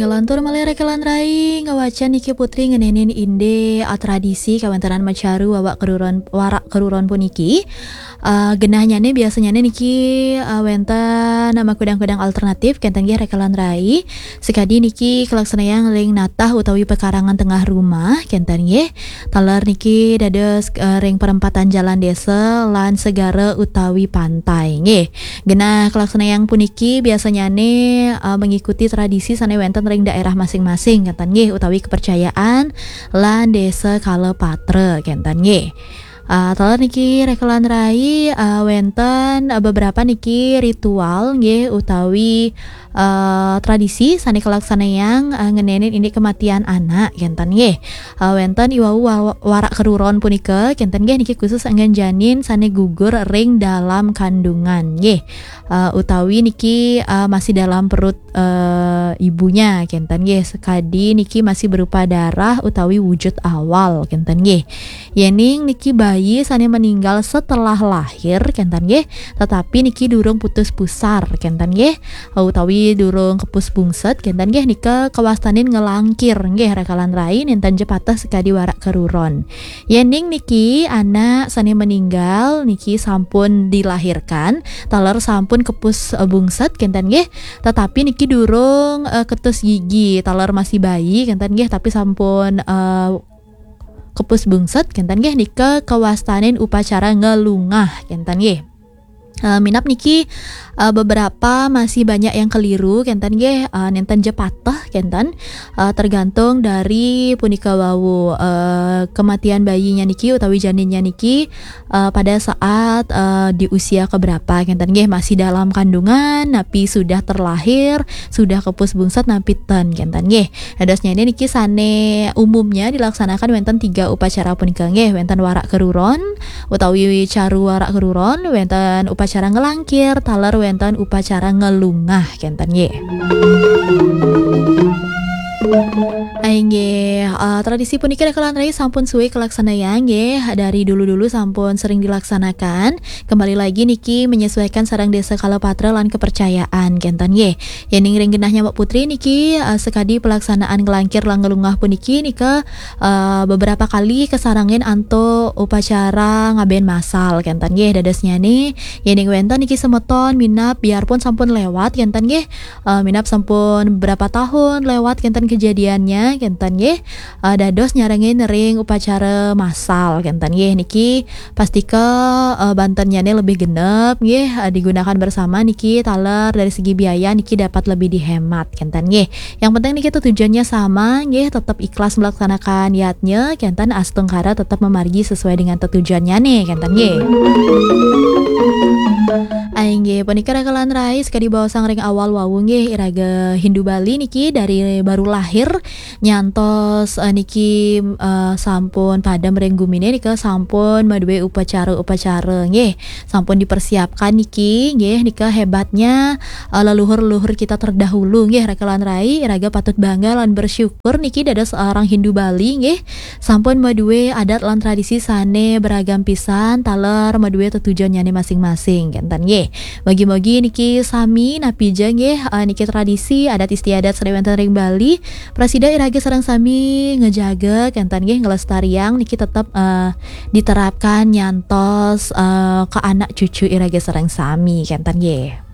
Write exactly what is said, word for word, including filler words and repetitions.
Ngelantur malih rekelan rai, ngawacan niki Putri ngenenin inde, ah, tradisi kawéntenan macaru wawak keruron, warak keruron puniki. Ah, genahnyane biasanyane niki, ah, wénten makudang-kudang alternatif, kenten nggih rekelan rai. Sekadi niki kalaksanayang ring natah utawi pekarangan tengah rumah, kenten nggih. Taler niki dados, eh, ring perempatan jalan desa lan segara utawi pantai, nggih. Genah kalaksanayang puniki biasanyane, eh, mengikuti tradisi sane wenten ring daerah masing-masing, kenten nggih, utawi kepercayaan lan desa kala patra, kenten nggih. Eh, taler niki rekelan rai, eh, wenten, eh, beberapa niki ritual, nggih, utawi, eh, tradisi sane kalaksanayang, eh, ngenenin indik kematian anak, kenten nggih. Eh, wenten iwau wa-, warak keruron punika, kenten nggih, niki khusus anggen janin sane gugur ring dalam kandungan, nggih. Eh, utawi niki, eh, masih dalam perut, eh, ibunya, kenten nggih. Sekadi niki masih berupa darah utawi wujud awal, kenten nggih. Yening niki bayi sane meninggal setelah lahir, kenten nggih, tetapi niki durung putus pusar, kenten nggih, utawi durung kepus bungset, kenten nggih, nika kawastanin ngelangkir, nggih, rekelan rai, nenten ja pateh sekadi warak keruron. Yening niki anak sane meninggal niki sampun dilahirkan, taler sampun kepus, eh, bungset, kenten nggih, tetapi niki durung, eh, ketus gigi, taler masih bayi, kenten nggih, tapi sampun, eh, kepus bungset, kenten nggih, nika kawastanin upacara ngelungah, kenten nggih. Eh, minab niki, eh, beberapa masih banyak yang keliru, kenten nggih, eh, nenten ja pateh, kenten. Eh, tergantung dari punika wau, eh, kematian bayinya niki utawi janinnya niki, eh, pada saat, eh, di usia keberapa, kenten nggih, masih dalam kandungan, napi sudah terlahir, sudah kepus bungset, napi ten, kenten nggih. Dadosnya ini niki sane umumnya dilaksanakan wenten tiga upacara punika nggih, wenten warak keruron utawi caru warak keruron, wenten upacara ngelangkir, taler wenten upacara ngelungah, kenten nggih. Inggih, eh, tradisi puniki rekelan rai sampun suwe kalaksanayang nggih, dari dulu-dulu sampun sering dilaksanakan. Kembali lagi niki menyesuaikan sareng desa kala patra lan kepercayaan, kenten nggih. Yening ring genahnya Mbok Putri niki, eh, sekadi pelaksanaan ngelangkir lan ngelungah puniki nika, eh, beberapa kali kesarengin antuk upacara ngaben masal, kenten nggih. Dadosnyane, yening wenten niki semeton minab biarpun sampun lewat, kenten nggih. Eh, minab sampun berapa tahun lewat kenten kejadiannya, kenten nggih. Eh, dados nyarengin ring upacara masal, kenten nggih. Niki pastika, eh, bantennyane lebih genep nggih, eh, digunakan bersama niki, taler dari segi biaya niki dapat lebih dihemat, kenten nggih. Yang penting niki tujuannya sama nggih, tetap ikhlas melaksanakan yadnya, kenten, astungkara tetap memargi sesuai dengan tujuannyane, kenten nggih. Inggih, punika rekelan rai sekadi baosang ring awal wau nggih, iraga Hindu Bali niki dari baru lahir nyantos, eh, niki, eh, sampun padem ring gumine nika sampun madue upacara-upacara nggih. Sampun dipersiapkan niki nggih, nika hebatnya, eh, leluhur-leluhur kita terdahulu nggih, rekelan rai, iraga patut bangga lan bersyukur niki dados seorang Hindu Bali nggih. Sampun madue adat lan tradisi sane beragam pisan, taler madue tetujonnyane masing-masing, kenten nggih. Mugi-mugi niki sami napi ja nggih, eh, niki tradisi adat istiadat sane wenten ring Bali, prasida iraga sareng sami ngejaga, kenten nggih, ngelestariang niki tetep, eh, diterapkan nyantos, eh, ke anak cucu iraga sareng sami, kenten nggih.